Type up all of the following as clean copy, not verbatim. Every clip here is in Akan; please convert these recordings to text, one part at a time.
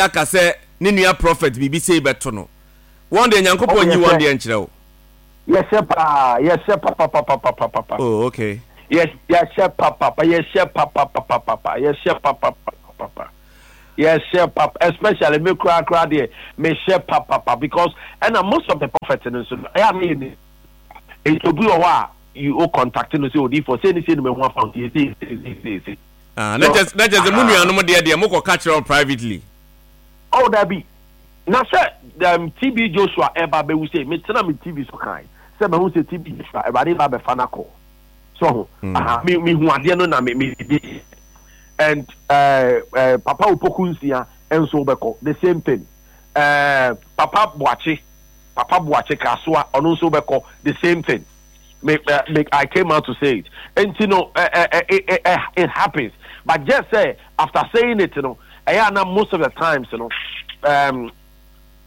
Aka sɛ ne nua prophet biribi sei bɛto no. Wɔn deɛ Oh, Nyankopɔn nyi wɔn yɛhyɛ deɛ nkyerɛ wo. Yɛhyɛ paa, yɛhyɛ papapapapapa. Oh, okay. Yɛ yɛhyɛ papapa, yɛhyɛ papapapapa, yɛhyɛ papapapapa. Yɛhyɛ pap, especially me koraa koraa deɛ, mehyɛ papapa because ɛna most of the prophets no nso no, ɛyɛ a na yɛ ni. Nti obi wɔ hɔ a you o contact no sɛ odiifoɔ sei ne sei na mahu afa wo nti yɛ sei sei sei sei sei. Ah, na So, kyɛ na kyɛ sɛ mo aha. nuanom deɛ deɛ mokɔ ka kyerɛ wɔn privately. Oh dabi, na sɛ um, TB Joshua ɛba abɛwu sei, metena me TV so kae sɛ mahu sɛ TB Joshua Awurade ba abɛfa no akɔ. So ho, aha, me mehu adeɛ no na me me di and uh, Papa Opoku Nsia nso bɛkɔ the same thing. Papa Boakye, Papa Boakye Kasoa ɔno nso bɛkɔ the same thing. Me, me, I came out to say it. And you know, it happens. But just say after saying it, ɛyɛ ana most of the times,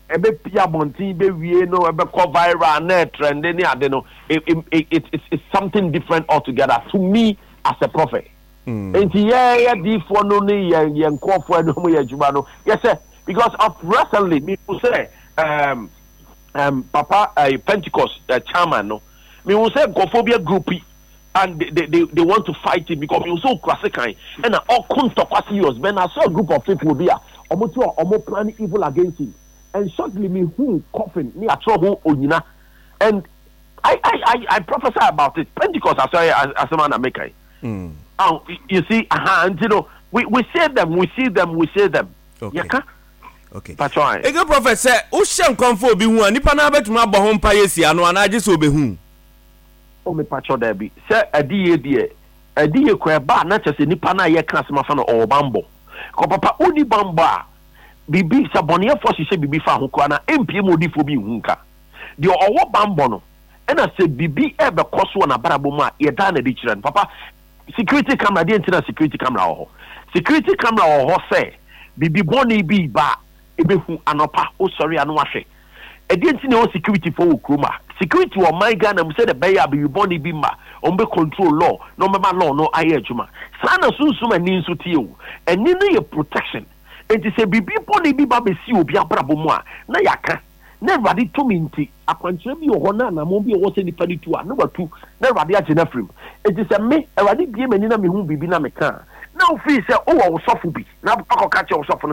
ɛbɛpia abɔnten bɛwie no, ɛbɛkɔ viral na ɛtrende ne ade no, it's something different altogether to me as a prophet. Nti yɛyɛ diifoɔ no ne yɛn nkurɔfoɔ no mu yɛ adwuma no yɛsɛ because of recently mehu sɛ papa Pentecost chairman no, mehu sɛ nkurɔfoɔ bi agroupi and they want to fight him because mehu sɛ okura sekan ɛna ɔko ntɔkwa serious. But I saw a group of people bi a ɔmo te ɔmo plan evil against him, and shortly mehu coffin ne atwerɛ ho onyina, and I prophesy about it. Pentecost asɔre asɛm ana meka yi. Oh, you see, aha, nti no, we say them, we see them, we say them. Yɛka. Patro. Eke prophet, sɛ wohyɛ nkɔmfo obi ho a, nipa no abɛtumi abɔ ho mpa yɛ si ano anaa gye sɛ obehu? O, me patro, daabi. Sɛ adiyie deɛ, adiyie kora ɛba a, na kyerɛ sɛ nipa no a yɛka asɛm afa no ɔwɔ bambɔ. Kɔ papa, wonni bambɔ a, biribi sɛ bɔneyɛfoɔ hyehyɛ biribi fa ho koraa na ɛmpie mu odiifoɔ bi nhu nka. Deɛ ɔwɔ bambɔ no, ɛna sɛ biribi ɛbɛkɔ so wɔ n'abrabɔ mu a, yɛdaa n'adi kyerɛ no. Papa, security camera deɛ, nti na security camera wɔ hɔ. Security camera wɔ hɔ sɛ biribi bɔne bi ba a, ɛbɛhu anɔpa wosɔre a no wahwɛ. Ɛdeɛ nti na ɛwɔ security foɔ wɔ kurom a security wɔ ɔman Ghana mu, sɛdeɛ ɛbɛyɛ a biribi bɔne bi ma wɔn bɛ control law na wɔn bɛma law no ayɛ adwuma. Saa na sunsum ani nso tie o. Ani no yɛ protection, nti sɛ biribi bɔne bi ba bɛsi obi abrabɔ mu a, na yɛaka na Awurade tumi nti akwankyerɛ bi wɔ hɔ na anammɔn bi wɔ hɔ sɛ nipa no tu a, na watu na Awurade agye no afiri mu. Nti sɛ me Awurade bie m'ani na mehu biribi na meka a, na wofii sɛ wowɔ wo sɔfo bi na akɔka kyerɛ wo sɔfo no.